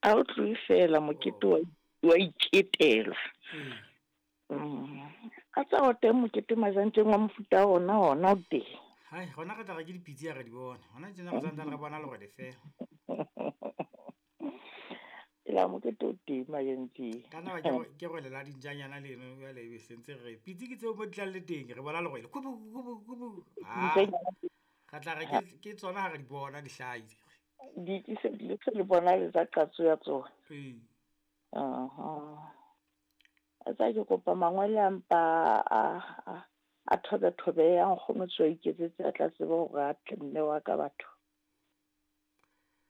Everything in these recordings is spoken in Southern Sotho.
A o tlohe fela mokete wa wa iketelwa. Ee. A tsa o teng mokete majanteng wa mofuta ona ona o teng. Hai, gona re tla re ke dipitse ya re di bona. Gona tjena re santsane re bona lerwele fela. Ela mokete o teng majanteng. Ka nna ba ke rwele la dintjanyana leno jwale ebe sentse re pitse ke tseo mo di tlang le teng re bona lerwele. Kubu kubu kubu. Ah. Re tla re ke tsona ha re di bona di hlahi. Di se le se le bona le tsa qatso ya tsona. Ee. Aha. A tsa ke kopa mangwele a mpa a thobe thobe ya nkgono tswa iketsetse a tla tseba hore a tle mme wa ka batho.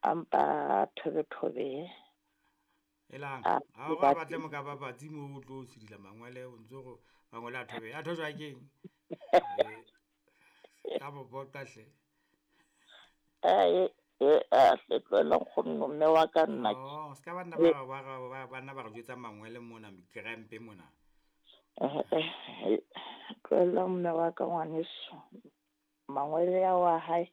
A mpa a thobe thobe. Elang, A ha o ba batle moka ba patsi mo o tlo sidila mangwele o ntso go mangwele a thobe. A thojwa keng? Ka bo boqa hle. Eh a hle tlohela nkgono mme wa ka nna. Oh, ska banna ba banna ba re jwetsa mangwele mona krempe mona. Tlohela mme wa ka ngwaneso. Mangwele a wa hae.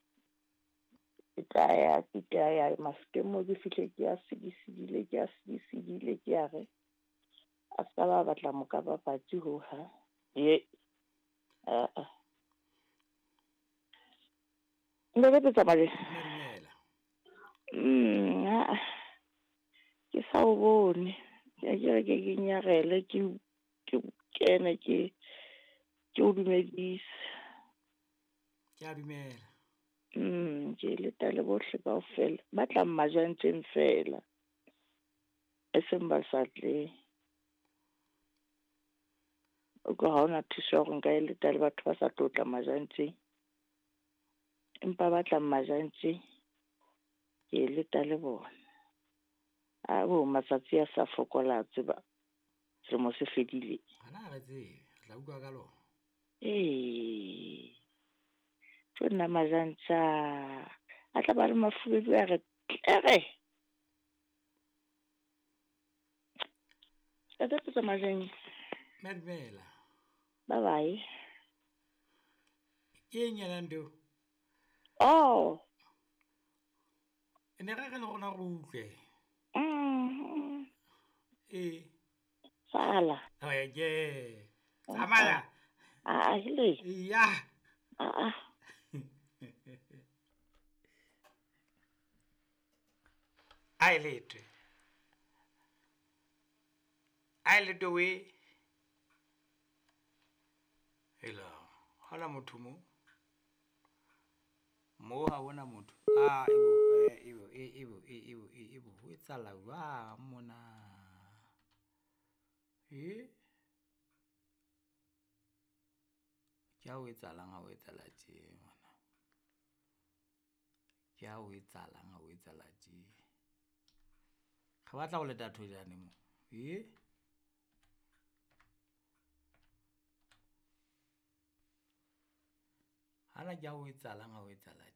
Ke tla ya mafikeng mo ke fihle ke a sidisidile ke a sidisidile ke a re a ska ba batla moka ba patsi ho ha. Ye. A. Ntate Petsamale. Dumela. Ke sa o bone. Ke ke re ke nyarele ke kene ke o dumedise. Ke a dumela. Ke leta le bohle kaofela ba tlang majanteng fela. E seng ba sa tle. O tlo ha ona thuso ya hore nka e leta le batho ba sa tlo tla majanteng. Empa ba tlang majanteng ke e leta le bona. A bo matsatsi a sa fokola tseba selemo se fedile. Hana re tsebe, re tla utlwa ka lona. Ee. Tjo nna majantsa a tla ba le mafubedu a re tlere. Ntate Petsamajeng. Dumela. Bye bye. Ke eng yena ntho? Oh. Ne re re le rona re utlwe. Ee. Sala. Oye. Tsamaya. A hele. Ya. A. A letwe. A letwe we. Ela, hala motho mo. Mo ha bona motho. Ah, ebo ebo ebo ebo ho etsahala jwang mona? E? Ke ha o etsahalang ha o etsahala tje ngwana. Ke ha o etsahalang ha o etsahala tje. Re batla ho leta thojane mo. E? Hana ke ha o etsahalang ha o etsahala tje.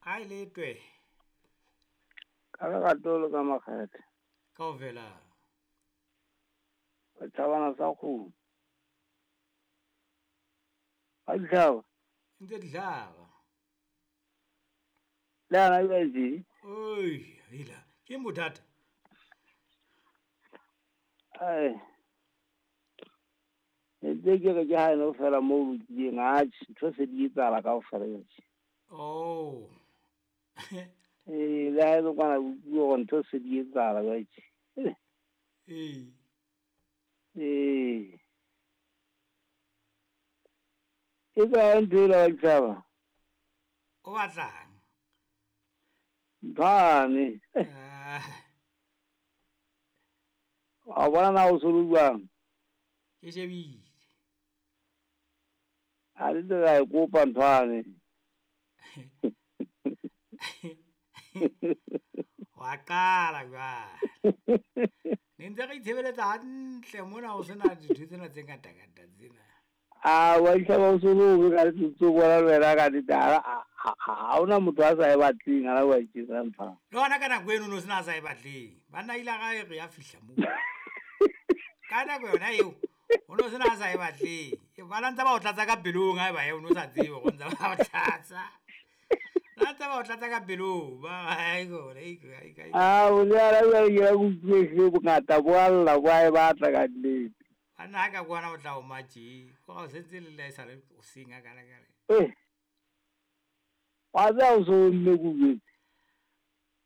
A letwe. Ka lerato le ka makgethe. Kaofela. Thabana sa kgomo. A ditlhaba. Ntse ditlhaba. Le ana jwale. Oi, ila. Ke bothata. Ai. Ntse ke re ke ha eno fela mo lokileng atjhe ntho se di etsahala kaofela jwale. Oh. Eh, le ha e le kwana bua hore ntho se di etsahala jwale. Ee. Ee. E ka ntho ela wa ditjhaba. O batlang? Nthwane. A bona na o solo jwang? Ke shebile. Ha le tla e kopa nthwane. Wa qala jwale. Ne ntse re itshebeletsa hantle mona ho sena dintho tsena tse ngata-ngata tsena. A wa ditjhaba o solo o ka le tsotso bona le wena ka nnete ha Ha hona motho a sa e batleng ana wa iketsa ntho. Le hona ka nako eno no sena sa e batleng. Banna ile ga re ya fihla mo. Ka nako yona eo o no sena sa e batleng. Ba ntse ba o tlatsa ka pelong ha eba o no sa tsebe go ntse ba o tlatsa. Ba ntse ba o tlatsa ka pelong. Ba ai go re ai. Ah, o le ara ya ya go tse bongata bo alla bo e batla ka nnete. Banna ha ka kwana o tla o matše. Go ga o sentse le la e sale o singa kana kana. Eh. Wa tsa o so nne go betse.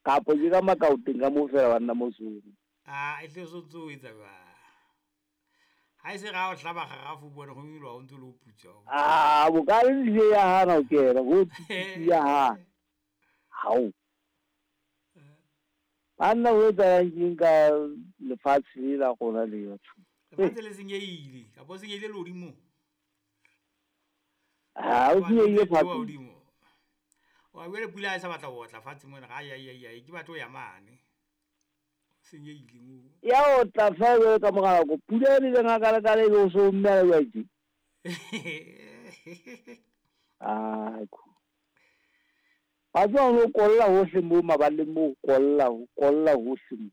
Kapo ke ka makaoteng ka mo fela banna mo so. Ah, e tle so tso etsa ba. Ha e se ga o hlaba gagafu bone go milwa o ntse le o putsa. Ah, bo ka le ya hana o kena go ya ha. Hao. Banna o etsa eng ka lefatshe le la gona le batho. Lefatshe le senyehile, kapo senyehile le hodimo. Ah, o senyehile fatshe. Wa wele pula e sa batla go otla fatshe mona ga ya ya ya ke batho ya mane. Senyehile mo. Ya otla fa we ka mogala go pula le nga ka ka le o so mmela wa itse. Ah, ko. Ba tswa go kolla hohle mo mabaleng mo kolla kolla hohle mo.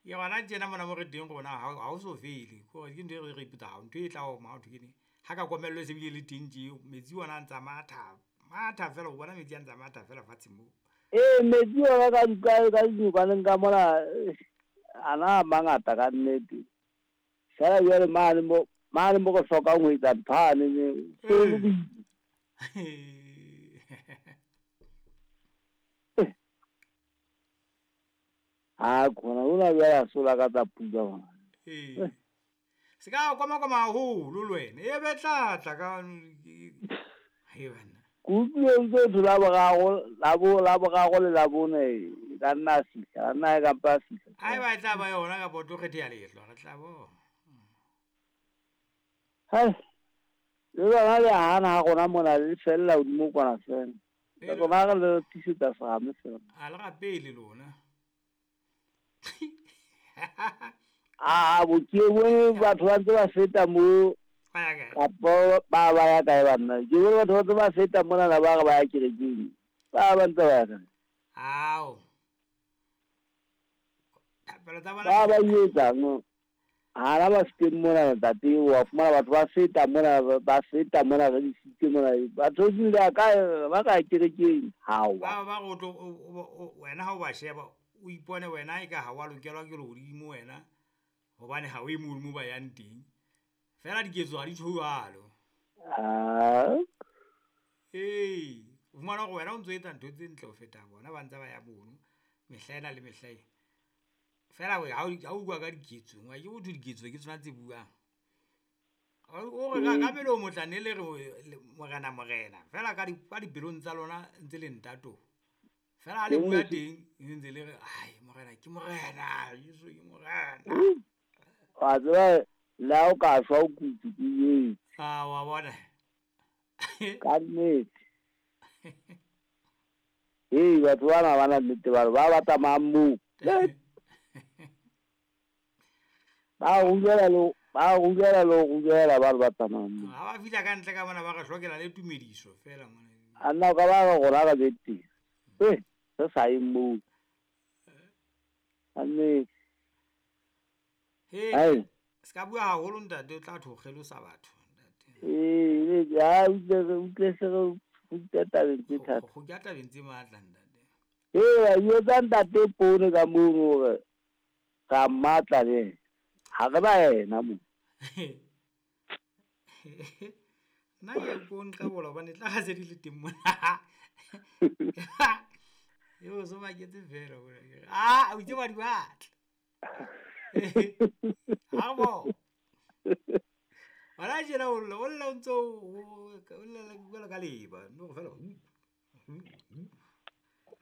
Ya bana tsena mona mo re teng gona ha o so fele. Go ke ntwe re re puta ntwe e tla o ma o ke ne. Ha ka komello se bile le teng tje metsi ona ntsa matha. Matha fela o bona metsi a ntsa matha fela fatshe mo. Eh metsi ona ka ka dinokwaneng ka mona ana mangata ka nnete. Fela jwale mane mo go hlokang ho etsa nthwane ne. Ah khona ona jwale a sola ka tsa pula bona. Eh. Se ka koma koma haholo le wena. E betla tla ka he bana. Ke utlwile ntse tho la boraro le la bone ka nna fihla nna e ka mpa fihla. Ai ba tla ba yona ka potlo kgethe ya lehlwa re tla bona. Hai. Le lona le hana ha rona mona le fella hodimo kwana fela. Re rona re le tisetsa serame fela. A le rapele lona. Ah, bo ke bone batho ba ntse ba feta mo. Kapo ba ba ya kae banna. Ke bone batho ba ntse ba feta mona la ba re ba ya kerekeng. Ba ba ntse ba ya kae. Ao. Thapelo tsa bona. Ba ba etsa no. Ha ba se mona ntate wa fumana batho ba feta mona re disitse mona. Batho ke le kae ba ka kerekeng. Hao. Ba ba go tlo wena ha o ba sheba o ipone wena e ka ha wa lokelwa ke lehodimo wena. Hobane ha o e modimo ba yang teng. Fela diketso ha di tshwalo. Ah. Eh, o fumana gore wena o ntse o etsa ntho tse ntle ho feta bona ba ntse ba ya bono. Mehla ena le mehla ena. Fela we ha o bua ka diketso, ngwa ke botho diketso ke tsona tse buang. O re ka melomo tla ne le re morena morena. Fela ka dipelong tsa lona ntse le ntato. Fela ha le bua teng ntse le re ai morena ke morena, Jesu ke morena. Wa tseba la o ka shwa o kutse ke etse. Ah, wa bona. Ka nnete. Ee, batho bana ba na nnete ba ba tsamayang moo. Ba rulela le go ba re ba tsamayang moo. Ha ba fihla ka ntle ka mona ba re hlokela le tumediso fela mona. A nna o ka ba re rona ka bete. Eh, re sa ye moo. Ka nnete. Hey. Se ka bua haholo ntate o tla thokgelosa batho ntate. Eh, ya utlwe se re go tabeng tse thata. Go ke tabeng tse matla ntate. Eh, yo tsa ntate poone ka moo hore ka matla le. Ha re ba yena mo. Nna ke go nka bola hobane tla ga se di le teng mona. Yo so ba ke tse fela gore. Ah, o itse ba di batla. Ha bo. Bana jela o lla o ntse o lla go ka leba no fela.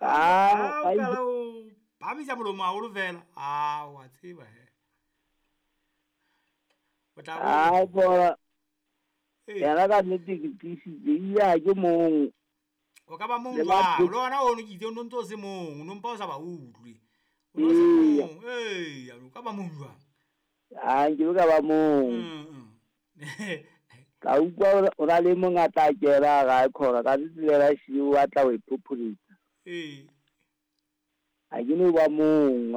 Ah, ka o phamisa molomo haholo fela. Ah, wa tseba he. O tla Ah, bona. Yena ka nnete ke tiisitse ya ke mong. O ka ba mong jwang? Le wena o no ke itse o ntse o se mong, o no mpa o sa ba utlwe. O no se mong. Eh, o ka ba mong jwang? Ah, ke ka ba mong. Ka utlwa o na le mong a tla kena a re aekhona ka tsela ena ehlile o batla ho e phopholetsa. Ee. Ha ke no ba mong.